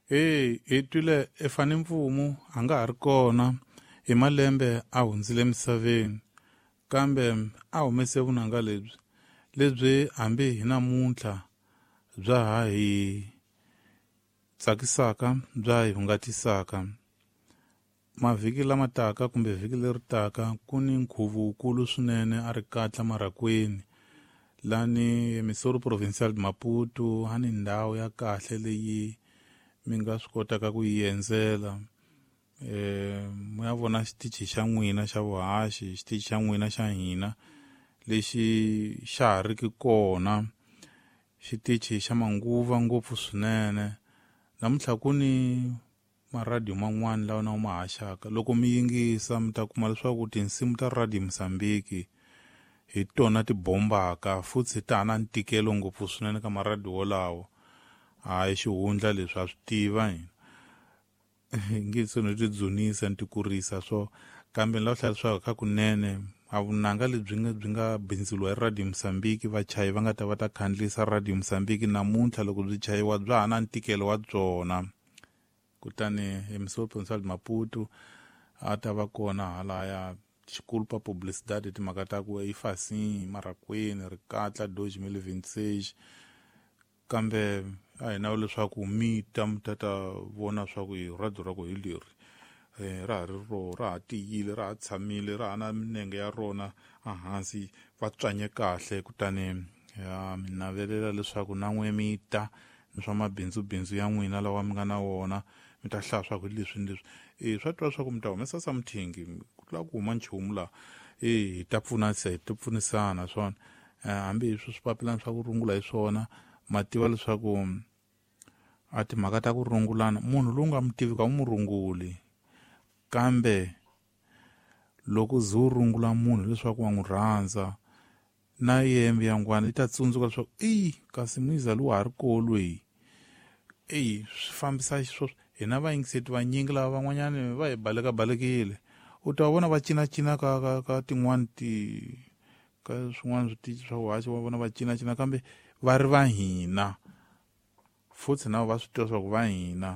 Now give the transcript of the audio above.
Hey, hi twile efane mfumo a nga ha ri kona hi malembe a hundzile emisaveni kambe a humese vunanga lebyi lebyi hambi hi namuntlha bya ha hi tsakisaka bya hi hungatisaka. Mavhiki lama taka kumbe vhiki leri taka ku ni nkhuvo wukulu swinene a ri katla Marhakweni lani Missouri Provincial de Maputo a ni ndhawu ya kahle leyi mi nga swi kotaka ku yi endzela mi ya vona xitichi xa n'wina xa vuhaxi xitichi xa n'wina xa hina lexi xa ha riki kona xitichi xa manguva ngopfu swinene namuntlha ku ni maradiyo man'wani lawa na ma haxaka loko mi yingisa mi ta kuma leswaku tinsimu ta Radio Mozambique hi tona ti bombaka futhi ta ha na ntikelo ngopfu swinene ka maradiyo wolawo hayi xihundla leswi ha swi tiva hina nge se no ti dzunisa ni ti kurisa swo kambe ni lava hlaya leswaku kha kunene a vunanga lebyi nga byi nga bindzuriwa hi Radio Mozambique vachayi va nga ta va ta khandlisa Radio Mozambique namuntlha loko byi chayiwa bya ha na ntikelo wa byona kutani Emisoro Provincial de Maputo a ta va kona halaya xikulupa publicidade timhaka ta ku eFasini Marhakweni Rikatla 2026 kambe a hi nawu leswaku mi ta mi ta ta vona swa ku hi radio ra ku hi leri ra ha ri ro ra ha tiyile ra ha tshamile ra ha na minenge ya rona ehansi va tswanye kahle kutani ya mi navelela leswaku na n'we mi ta ni swa mabindzubindzu ya n'wina lawa mi nga na wona mi ta hlaya swa ku hi leswi ni leswi e swa twa leswaku mi ta humesa something ku tlula ku huma nchumu laha e hi ta pfunasa hi ta pfunisana swona hambi hi swi swipapilana swa ku rungula hi swona ma tiva leswaku a timhaka ta ku rungulana munhu lowu nga mi tivi ka u mu runguli kambe loko ze u rungula munhu leswaku wa n'wi rhandza na yembe ya ngwana yi ta tsundzuka leswaku eyi kasi muyiza lowu ha ri koho loyi eyi swi fambisa xisweswo hina vayingiseti vanyingi lava van'wanyani va hi balekabalekile u ta vona va cinacina ka ka ka tin'wani ti ka swin'wana switichi swa vuhaxi wa vona va cinacina kambe va ri va hina futhi na va swi tiva swa ku va hina.